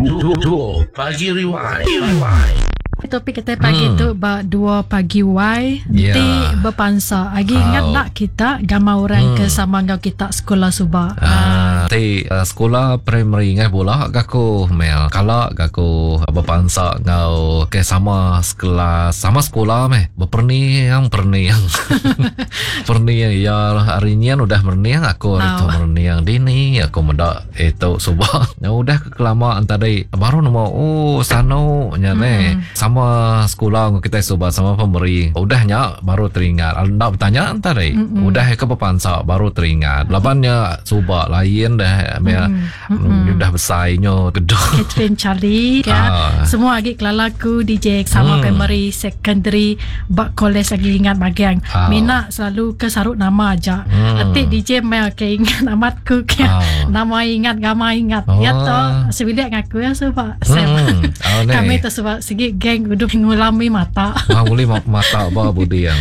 Dua Pagi Riwai. Topik kita pagi tu ba 2 pagi wai Ya. enti bepansa agi ingat Au. nak kita gambar orang ke sama enggau kita sekolah suba. Ah, ti sekula primary ngai bula ga aku mel. Kala ga aku bepansa enggau ke sama sekelas, sama sekula meh. Beperniang perniang. Perniang iya hari nyin udah merening aku hari tu merening dini aku meda itu suba. Udah ke kelama tadi baru nemu oh sanu nya neh. Sama sekula enggau kitai suba sama pemeri. Udah nya baru teringat. Enda betanya tadi. Udah ke bepansa baru teringat. Laban nya suba lain dah meh udah besai nyo gedo. Catherine Charlie ya. Semua agi kelala ku DJ sama primary secondary ba college agi ingat bagian. Mina selalu ke saruk nama aja. Enti DJ meh ke ingat amat ku ke nama ingat gambar ingat. Ya tu sebilik ngaku ya suba. Sam. Oh, ne. Kami tu suba sigi geng udah ngulami mata. Ah, boleh mata ba budi yang.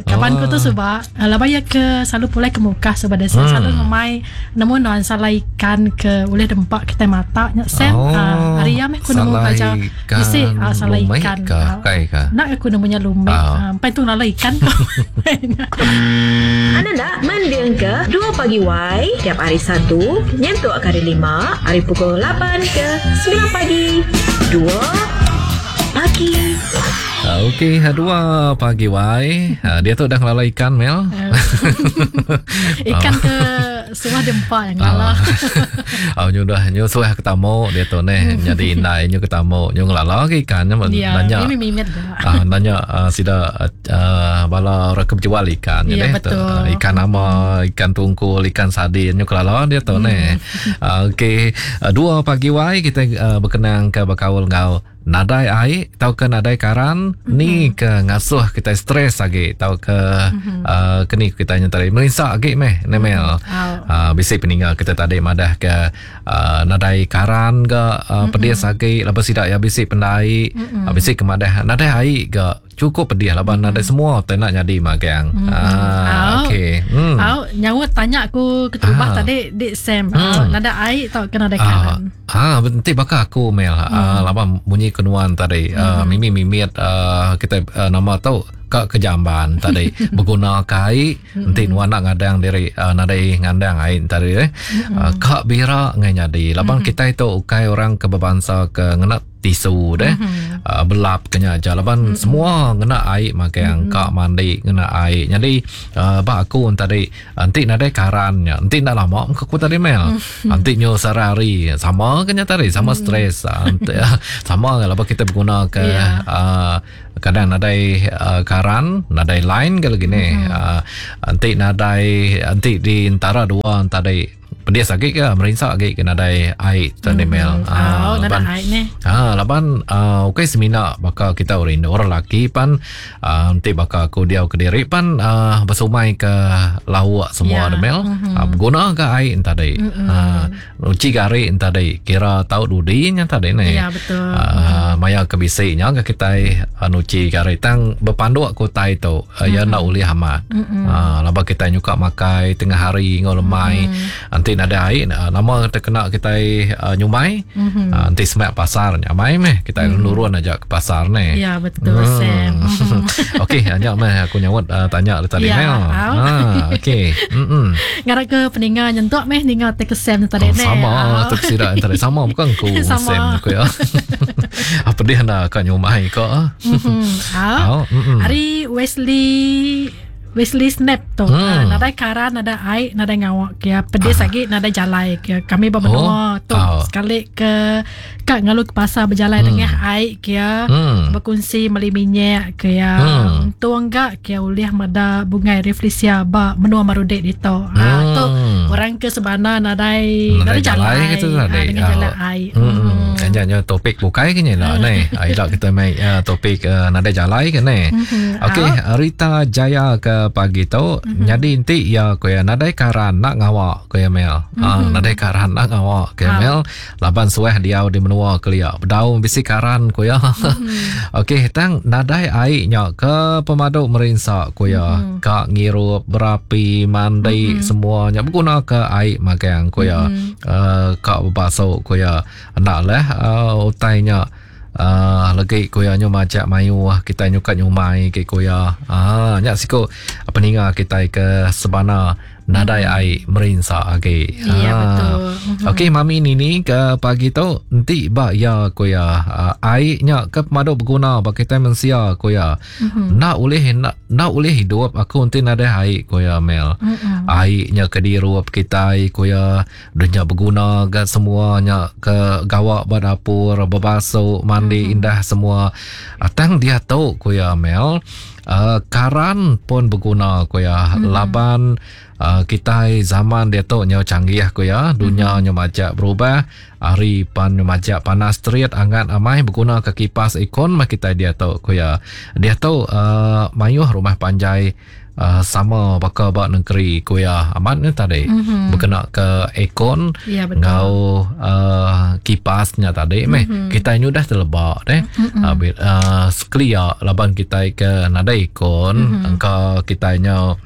Kaban ku tu suba laban iya ke selalu pulai ke Mukah suba desa selalu ngemai nemu nuan salai ikan ke ulih dempa kitai mata nya Sam. Oh, Ari iya meh ku nemu salai belajar ikan bisi salai lumik ikan. ka? Kai ka? Enda aku nemu nya lumik. Empai tu ngelala ikan ko. Anda enda mendingka Dua Pagi Wai tiap hari Satu nyentuk ke hari Lima ari pukul lapan ke semilan pagi. Dua Pagi. Okey, dua pagi wai. Dia tu dah ngelala ikan mel. Ikan ke suah dempa yang ngelala. Oh, nyu dah nyu suah ketemu dia tu neh nyadi indai nyu ketemu nyu ngelala ke ikan nya Ya, nanya. Mimi mimit dah. Nanya sida bala orang ke berjual ikan nya Ya, neh. betul. Ikan nama, ikan tungkul, ikan sardin nyu kelala dia tu neh. Okey, dua pagi wai kita berkenang ke bekaul enggau nadai ai tauka nadai karan ni ke ngasuh kita stres agi tauka keni kita nya tadi merinsa agi meh ne mel. Bisi peninga kita tadi madah ke nadai karan ga pedis agi laban sida ya bisi pendai bisi ke madah nadai ai ga cukup pedih laban nadai semua tai nak nyadi magang. Okey. Au nyaut tanya aku keterubah tadi dik Sam. Nadai ai tauka nadai karan. Enti baka aku mel laban munyi kenuan tadi mimi mimit kita nama tu ka ke jamban tadi beguna ke ai enti nuan nak ngadang diri nadai ngandang ai tadi ka bira ngai nyadi laban kitai tu ukai orang ke berbangsa ke ngena tisu deh belap kenya aja laban semua ngena ai magang ka mandi ngena ai jadi ba aku tadi enti nadai karan nya enti enda lama muka aku tadi mel enti nyu sehari-hari sama kenya tadi sama stres enti sama laban kita beguna ke kadang nadai karan nadai line ke lagi ni enti nadai enti di antara dua tadi pedis agi ke merinsa agi ke nadai ai tadi mel. Nadai ai ni. Laban okey semina baka kita orang indu orang laki pan enti baka aku diau ke diri pan besumai ke lauk semua yeah. Mel. Beguna ke ai tadi. Uci gari tadi kira tau dudi nya tadi ni. Ya betul. Maya ke bisi nya ke kitai nuci gari tang bepanduk ku tai tu ya nak ulih amat. Laban kita nyuka makai tengah hari ngau lemai. Enti nadai ai nama terkena kitai nyumai enti semak pasar nyamai meh kitai nurun aja ke pasar ni. Ya betul Sam. Okey nya meh aku nyaut tanya tadi mel. Okey. Ngarap ke peninga nyentuk meh ninga te ke Sam tadi ni. Sama tu sida tadi sama bukan ku Sam ku ya. Apa dia nak ka nyumai ka. Hari Wesley Snap tu. Nadai karan, nadai ai, nadai ngawak ke. Pedis lagi nadai jalai ke. Kami bermenua tu sekali ke kak ngalu ke pasar berjalai dengan ai ke. Berkongsi meli minyak ke. Untung gak ke ulih meda bungai reflesia ba menua Marudek ditu. Tu orang ke sebana nadai nadai jalai gitu tadi. Dengan jalan ai. Hanya topik bukai ke ni lah ni. Aila kita mai topik nadai jalai ke ni. Okey, Rita Jaya ke pagi tu jadi enti ya ko ya nadai karan nak ngawak ko ya mel. Nadai karan nak ngawak ko ya mel laban suah diau di menua kelia. Bedau bisi karan ko ya. Okey, tang nadai ai nya ke pemadu merinsa ko ya. Ka ngirup berapi mandi semuanya berguna ke ai magang ko ya. Ka bebasuk ko ya. Nak lah. uh, utai nya uh, legi ku iya nyu majak mayuh kitai nyukat nyumai ke ku iya. Ah nya siku peninga kitai ke sebana nadai ai merinsa agi. Ya betul. Okey mami Nini ke pagi tu enti ba iya ku iya ai nya ke pemadu beguna ba kitai mensia ku iya. Enda ulih enda, enda ulih hidup aku enti nadai ai ku iya Mel. Ai nya ke dirup kitai ku iya dunya beguna ga semua nya ke gawa ba dapur bebasu mandi indah semua. Tang diatu ku iya Mel Uh, karan pun beguna ku iya mm-hmm. laban uh, kitai zaman diatu nyau canggih ku iya dunya mm-hmm. nyau majak berubah hari pan nyau majak panas terit angat amai beguna ke kipas aircon mah kitai diatu ku iya diatu uh, mayuh rumah panjai uh, sama baka ba negeri ku iya amat ni tadi mm-hmm. bekena ke aircon ya, enggau uh, kipas nya tadi meh mm-hmm. kitai nyudah teleba deh mm-hmm. uh, uh, sekelia laban kitai ke nadai aircon mm-hmm. engka kitai nya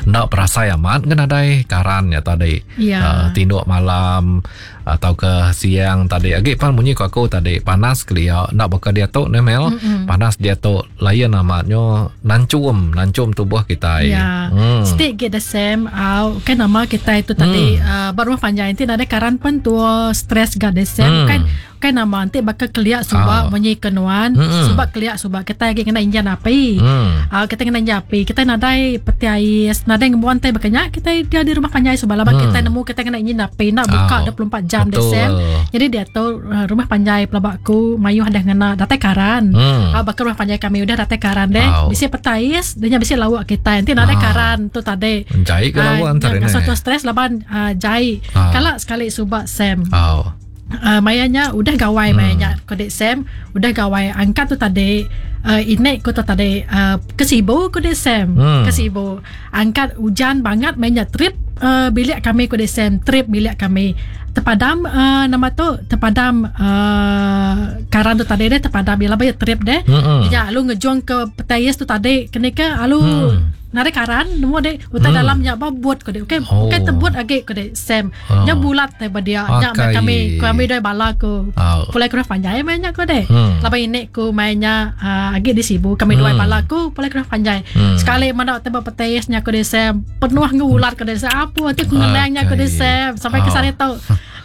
enda berasai amat ke nadai karan nya tadi ya. uh, tinduk malam atau ke siang tadi agi pan munyi ku aku tadi panas kelia enda baka diatu ne Mel mm-hmm. panas diatu lain amat nyo nancum nancum tubuh kitai ya mm. still get the same au kan nama kitai tu tadi mm. uh, ba rumah panjai enti nadai karan pan tua stress ga the same mm. kan kan nama enti baka kelia suba oh. munyi ke nuan mm. suba kelia suba kitai agi ngena injan api mm. uh, kitai ngena injan api kitai nadai peti ais nadai ngembuan tai baka nya kitai dia di rumah panjai suba laban mm. kitai nemu kitai ngena injin api enda buka oh. 24 jam the same jadi diatu uh, rumah panjai pelaba aku mayuh dah ngena datai karan mm. uh, baka rumah panjai kami udah datai karan deh oh. bisi peti ais dia nya bisi lauk kitai enti nadai oh. karan tu tadi jai ke lauk antara ni uh, stres laban uh, jai oh. kala sekali suba Sam oh. Uh, maya nya udah gawai maya nya ko dik Sam udah gawai angkat tu tadi uh, inek ko tu tadi uh, ke Sibu ko dik Sam hmm. ke Sibu angkat ujan bangat maya nya trip uh, bilik kami ko dik Sam trip bilik kami terpadam uh, nama tu terpadam uh, karan tu tadi deh terpadam bila bayar trip deh hmm. ya alu ngejung ke petayis tu tadi kena ke alu hmm. Nadai karan nemu dek utai hmm. dalam nya ba but ko dek. Okey, oh. okey tebut agi ko dek Sam. Oh. Nya bulat te ba dia. Nya okay. kami kami doi bala ko. Oh. Pulai ke panjai mai nya ko dek. Hmm. Laban ini ko mai nya uh, agi di Sibu kami hmm. doi bala ko pulai ke panjai. Hmm. Sekali mana te ba petais nya ko dek Sam penuh ngu ulat ko dek Sam. Apa ti ku ngenang nya ko dek Sam sampai oh. ke sana tu.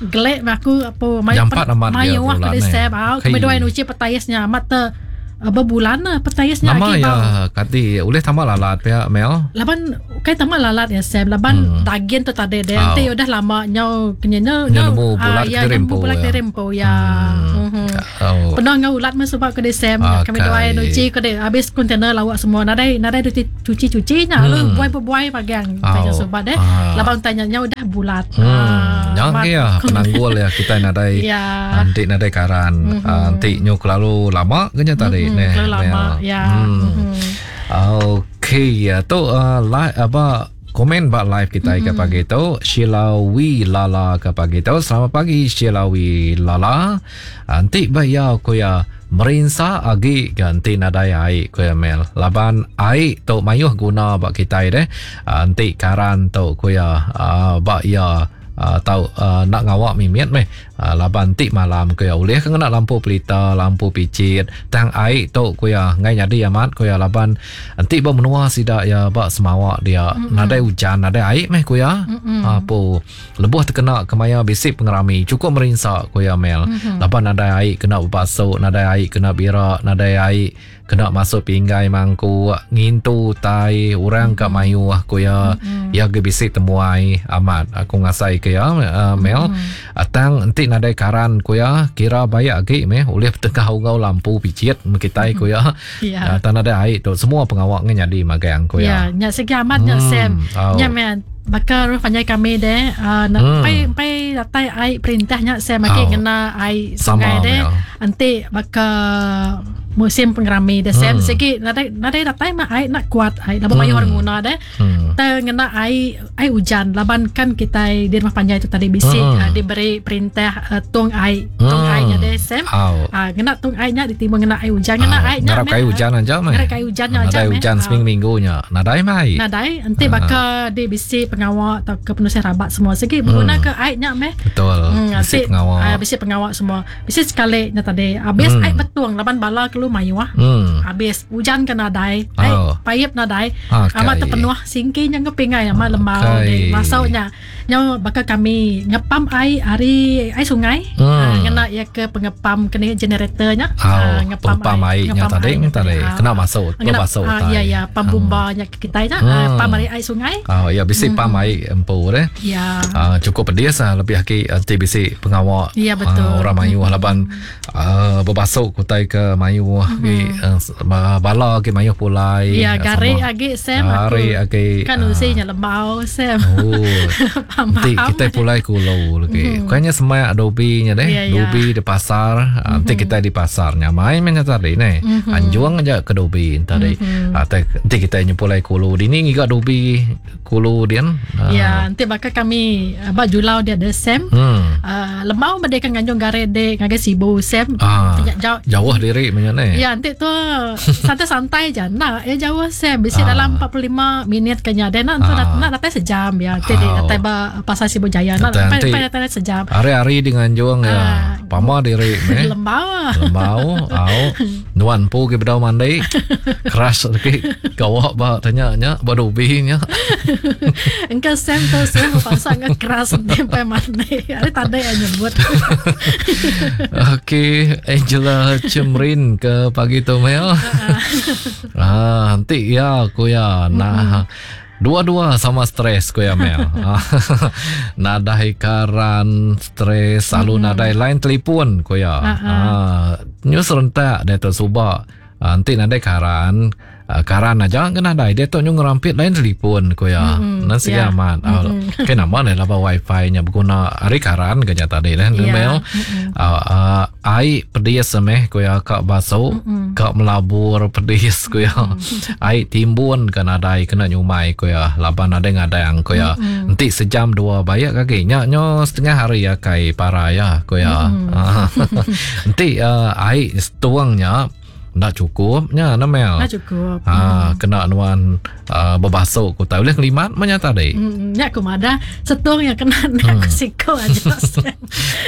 Gelek aku apa mai mai ko dek Sam. Kami doi nuci petais nya amat te Bebulan lah petais nya Nama ya kati ulih tambah lalat pia Mel? Laban kai tambah lalat ya Sam laban hmm. daging tu tadi deh oh. enti udah lama nyau kenya nyau nemu bulat ya, nemu bulat ya. Rempo ya. Hmm. Hmm. Oh. Penuh ngau ulat mah sebab ke Sam okay. kami doai nuci ke deh habis kontainer lawak semua nadai nadai cuci-cuci nya lalu hmm. buai-buai pagang oh. tanya sebab deh ah. laban tanya nya udah bulat. Hmm. Ah, Nya ke ya penanggul ya kitai nadai ya. Enti nadai karan mm-hmm. enti nyu kelalu lama ke nya tadi mm-hmm. neh. Kelalu lama ya. Hmm. Mm-hmm. Okey ya tu uh, like apa komen ba live kita mm-hmm. ke pagi tu Sheila Wi Lala ke pagi tu selamat pagi Sheila Wi Lala enti ba ya ku ya merinsa agi ke enti nadai ai ku ya Mel laban ai tu mayuh guna ba kitai deh enti karan tu ku ya ba ya tau enda ngawa mimit meh laban enti malam ku iya ulih ke ngena lampu pelita lampu pichit tang ai tu ku iya enggai nyadi amat ku iya laban enti ba menua sida iya ba Semawa dia nadai ujan nadai ai meh ku iya apu lebuh tekena kemaya bisi pengerami chukup merinsa ku iya Mel laban nadai ai kena bebasu nadai ai kena bira nadai ai Kena masuk pinggai mangkuk, ngintu utai, orang ka mayuh ku iya. Iya agi bisi temuai amat aku ngasai ke iya uh, Mel. Mm-hmm. Tang enti nadai karan ku iya, kira bayak agi meh ulih betengah enggau lampu pichit kitai ku iya. Yeah. Uh, tang nadai ai tu semua pengawa ngan nyadi magang ku iya. Ya, nya sigi amat nya hmm. Sam. Oh. Nya meh baka rumah panjai kami deh uh, hmm. pai pai datai ai perintah nya Sam agi oh. ngena ai sungai deh. Enti baka. musim pengerami deh Sam hmm. sigi nadai nadai datai mah ai nak kuat ai laban mayuh orang guna deh hmm. te ngena ai ai ujan laban kan kitai di rumah panjai tu tadi bisi hmm. uh, diberi perintah uh, tung ai tung hmm. ai nya deh Sam uh, ngena tung ai nya ditimbun ngena ai ujan ngena ai nya ngarap ai ujan aja meh ngarap ai ujan nya aja nadai ujan seminggu minggu nya nadai mai nadai enti uh. baka di bisi pengawa atau ke penusah rabat semua sigi beguna hmm. ke ai nya meh betul hmm, bisi pengawa uh, bisi pengawa semua Bisi sekali nya tadi abis hmm. ai betung laban bala kelu mayuh. Hmm. Abis ujan ke nadai, ai oh. paip nadai. Okay. Amat terpenuh singki nya ngepingai amat okay. lembau di masau nya. Nya baka kami ngepam ai ari ai sungai. Hmm. Uh, ngena ya ke pengepam kena generator nya. Oh. Uh, ngepam ai, nya tadi nya tadi. Kena masuk, kena masuk uh, Ya ya, pam bomba hmm. nya kitai nya, hmm. uh, pam ari ai sungai. Oh ya bisi hmm. pam ai empu deh. Ya. Uh, cukup pedis lah lebih agi enti bisi pengawa. Ya betul. Uh, orang mayuh laban uh, bebasuk utai ke mayuh mm-hmm. agi uh, bala agi mayuh pulai. Ya gari agi Sam gari agi. Kan uh, usi nya lembau Sam. Oh. Enti kita pulai kulu lagi. Mm-hmm. Kayaknya semak dobi nya deh. Ya, ya. Dobi di pasar. Mm-hmm. Enti kita di pasar nyamai men tadi ne. Mm-hmm. Anjung aja ke dobi tadi. Mm-hmm. Enti kita nya pulai kulu dini ngiga dobi kulu dian. Ya, enti baka kami ba Julau dia ada Sam. Hmm. Uh, lemau meda kan nganjung gare de ngagai Sibu Sam. Ah, jauh, jauh diri menya ne. Ya, enti tu santai-santai je. Nak ya jauh Sam bisi ah. dalam 45 minit kenya. Dia nak ah. nak datai sejam ya. Enti oh. datai ba pasar Sibu Jaya nak datai datai sejam. Hari-hari di nganjung ya. Ah. Pama diri meh. Lembau. Lembau, au. Nuan empu ke bedau mandi. Keras lagi gawa ba tanya nya ba dobi nya. Engka Sam tu Sam pasal nge keras sampai mandi. Ari tadi yang nyebut. Okey, Angela Cemrin ke pagi tu Mel. ah, nanti ya aku ya. Nah, Dua-dua sama stres ku iya Mel. Nadai karan stres lalu mm-hmm. nadai line telefon ku iya. Uh-huh. Nyu serentak dia tu suba. Enti nadai karan, karan aja ke nadai dia tu nyu ngerampit line telefon ku iya. Mm-hmm. Nan sigi yeah. amat. Mm-hmm. Ke nama ne laba wifi nya beguna ari karan ke nya tadi leh yeah. Mel. Mm-hmm. Uh, ai pedis meh ku iya ka basu mm-hmm. ka melabur pedis ku iya mm-hmm. ai timbun ke nadai kena nyumai ku iya laban nadai ngadang ku iya mm-hmm. enti sejam dua bayak agi nya nyo setengah hari akai para iya ku iya mm-hmm. enti uh, ai setuang nya Enda cukup nya nah Mel. Enda cukup. Ha hmm. kena nuan uh, bebasuk ku tai ulih ngelimat mah nya tadi. Hmm, nya ku madah setung yang kena hmm. aku siko aja.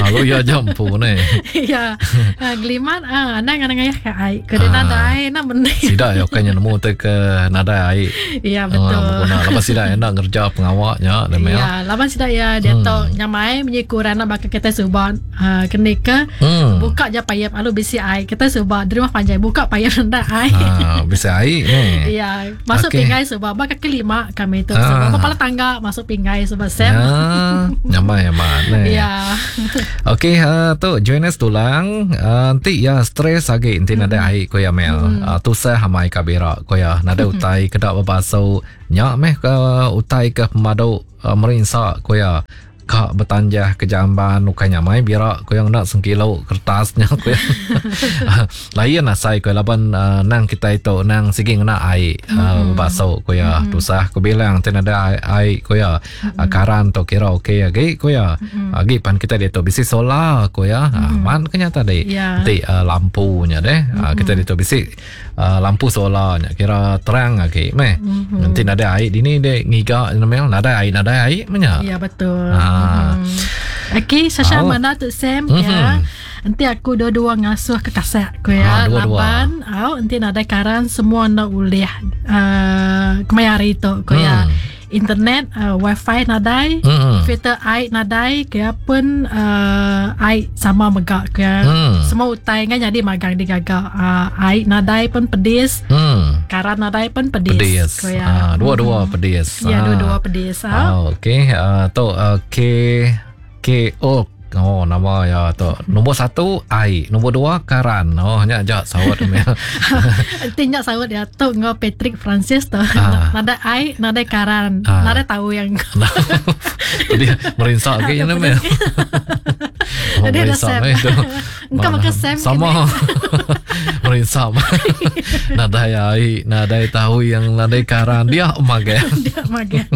Lalu ya aja empu ne. Ya. Uh, ngelimat ah anang anang ayah ka ai. Ke dia ah. nadai nak meni. Sida ya kanya nemu te ke nadai ai. Ya betul. Uh, beguna laban sida enda ngerja pengawa nya ne Mel. Ya, laban sida ya dia hmm. tu nyamai menyiku rana baka kita suban uh, keni ke hmm. buka je payap lalu bisi ai kita suba di rumah panjai buka payap rendah ai ha, bisi ai ni ya masuk okay. pinggai suba ba kaki lima kami tu ha. suba kepala tangga masuk pinggai suba sem ya nyamai amat ni ya okey uh, tu join us tulang uh, nanti ya stres agi nanti hmm. nadai ai ko ya mel hmm. uh, tusah amai kabira ko ya nadai hmm. utai kedak bebasu nya meh ke utai ke pemadu uh, merinsa ko ya Ka betanjah ke jamban ukai nyamai bira ku iya ngena sengkilo kertas nya ku iya. Lain asai ku iya laban uh, nang kitai tu nang sigi ngena ai uh, bebasu ku iya. Mm-hmm. Tusah ku bilang ti nadai ai, ai ku iya. Mm-hmm. Uh, karan tu kira okey agi ku iya. Mm-hmm. Agi pan kitai ditu bisi solar ku iya. Mm-hmm. Uh, man ke nya tadi. Yeah. Ti uh, lampu nya deh. Mm-hmm. Uh, kitai ditu bisi uh, lampu solar nya kira terang agi meh. Mm-hmm. Nanti nadai ai dini dek ngiga nemel nadai ai nadai ai meh nya. Ya betul. Ha. Mm-hmm. Okey, Sasha oh. mana tu Sam mm-hmm. ya. Enti aku dua-dua ngasuh ke kasak ku ya. Ha, dua-dua. Laban au enti nadai karan semua enda ulih uh, kemaya hari tu ku ya. Mm. Internet uh, wifi nadai mm. filter ai nadai kaya pun uh, ai sama mega kaya mm. semua utai ngan nyadi magang digaga uh, ai nadai pun pedis mm. karan nadai pun pedis, pedis. Kaya uh, dua-dua mm. pedis ya dua-dua pedis uh. okey uh, tu uh, K K O Oh nama ya tu. Nombor satu ai, nombor dua karan. Oh nya aja saut meh. Enti nya saut ya tu enggau Patrick Francis tu. Ah. Nadai ai, nadai karan, ah. nadai tahu yang. Jadi merinsa agi nya meh. Jadi ada merinsa Sam. meh tu. Engkau makan Sam Sama. Merinsa. Nadai ai, nadai tahu yang nadai karan dia magai. Dia magai.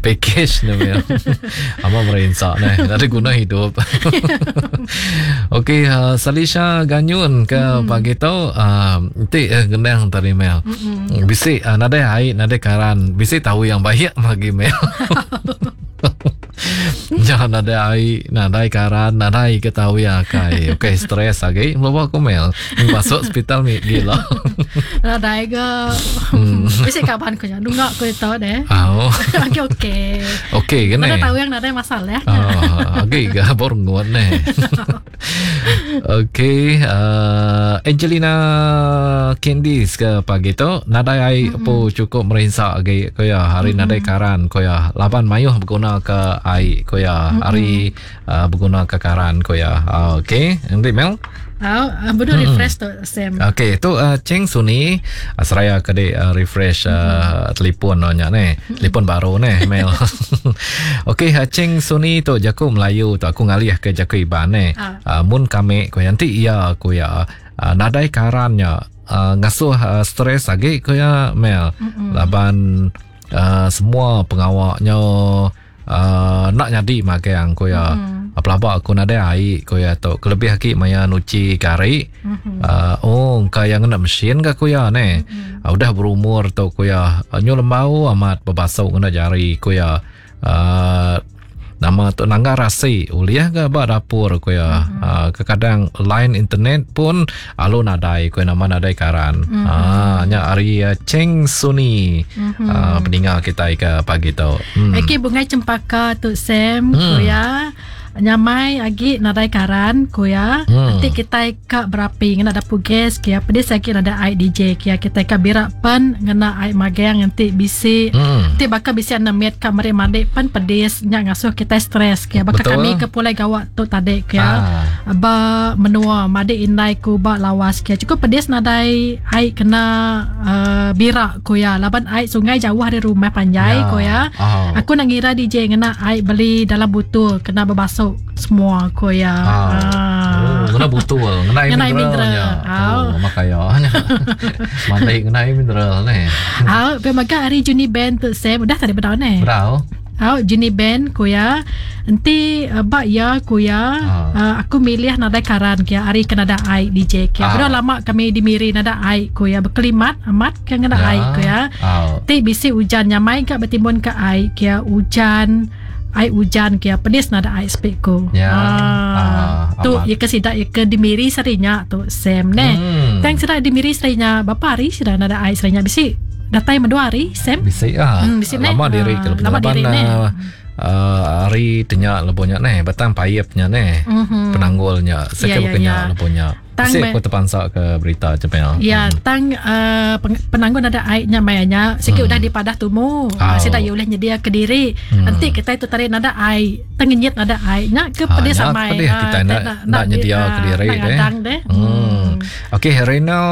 Package ni mel. Ama merinsa ni. Nadai guna hidup. Okey, Salisha Ganyun ke pagi tu enti gendang tadi mel. Bisi nadai ai, nadai karan, bisi tahu yang baik magi mel. Jangan ada ai, nadai karan, nadai ketahui akai. Okey, stres lagi. Mula aku mel. Masuk hospital mi gila. Nadai ke. Bisi kaban ku nya nunga ku itu deh. Oh. Okey okey. Okey ke Mana ni? tahu yang nadai masalah. Ah, okey ke baru nguat ni. Okey, Angelina Candice ke pagi tu nadai ai po cukup merinsa agi ko ya hari nadai karan ko ya laban mayuh berguna ke ai ko ya hari berguna ke karan ko ya. Okey, nanti Mel. Oh, betul refresh tu Sam. Okey, tu Cheng Suni seraya ke dek refresh telefon nya ni. Telefon baru ni Mel. Okey, Cheng Suni tu jaku Melayu tu aku ngalih ke jaku Iban ni. Mun kami ko nanti iya ko ya nadai karannya ngasuh stres lagi ko ya Mel. Laban semua pengawaknya nak nyadi magang ko ya. Pelabak aku nadai ai ko ya tu. Kelebih lagi maya nuci gari. Oh kaya ngena mesin ke ko ya ni. Udah berumur tu ko ya. Nyu lembau amat berbasuh ngena jari ko ya. Nama tu nangga rasi uliah ke ba dapur ko ya. Kekadang line internet pun alu nadai ko nama nadai karan. Nya ari Cheng Suni peninggal kita ke pagi tu. Okey, bungai cempaka tu Sam ko ya. Nyamai agi nadai karan ko ya. Nanti kita ka berapi ngena dapur gas kia pedis agi nada ai DJ kia kita ka birak pan ngena ai magang nanti bisi. Nanti bakal bisi ana met ka meri mandi pan pedis nya ngasuh kita stres kia. Bakal kami ke pulai gawak tu tadi kia. Ba menua madi indai ku ba lawas kia. Cukup pedis nadai ai kena birak ko ya. Laban ai sungai jauh dari rumah panjai ko ya. Aku nak ngira DJ ngena ai beli dalam butul kena berbasuh semua ko ya. Oh, ngena butul, ngena air mineralnya. Oh, makaya. Mandi ngena air mineral ni. Ah, pemaga hari Juni Band tu Sam udah tadi bedau ni. Bedau. Ah, Juni Band ko ya. Enti bak ya ko ya. Aku milih nadai karan kia hari kena ada ai DJ kia. Bedau lama kami di Miri nada ai ko ya berkelimat amat ke ngena ai ko ya. Ti bisi hujan nyamai ka bertimbun ke ai kia hujan. Ai hujan kia pedis nada ai speak ko. Tu ye ke sidak ye ke dimiri serinya tu Sam ne. Tang sidak dimiri serinya bapa hari sidak nada ai serinya bisi datai mendua hari Sam. Bisi ah. Bisi lama diri ke lama diri ne. Hari tenya lebonya ne batang payepnya ne. Penanggulnya seke bekenya lebonya. Tang aku terpansak ke berita cepel. Ya, tang penanggun ada airnya mayanya sikit udah dipadah tumu. Sidak ye ulih nyedia ke diri. Nanti kita itu tarik nada air, tengenyit nada airnya ke pedih samai. Pedih kita nak nyedia ke diri deh. Okey, Renal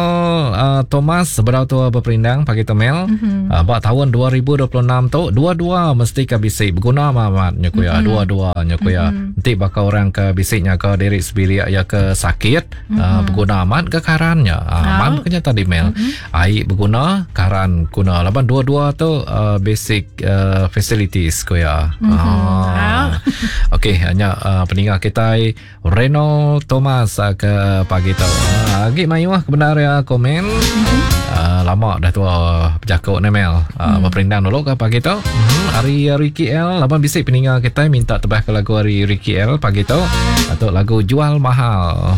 Thomas seberapa tua berperindang pagi temel. Bak tahun 2026 tu dua-dua mesti ke bisi berguna amat nya kuya dua-dua nya kuya. Nanti bakal orang ke bisiknya ke diri sebilik ya ke sakit. Berguna amat ke karannya. Amat kena tadi Mel. Air berguna, karan guna. Laban dua-dua tu basic facilities ko ya. Okey, hanya peninggal kita Reno Thomas ke pagi tu. Agi mayuh kebenar ya komen. Lama dah tua berjakuk ni Mel. Berperindang dulu ke pagi tu. Hari Ricky L laban bisik peninggal kita minta tebah ke lagu hari Ricky L pagi tu atau lagu Jual Mahal.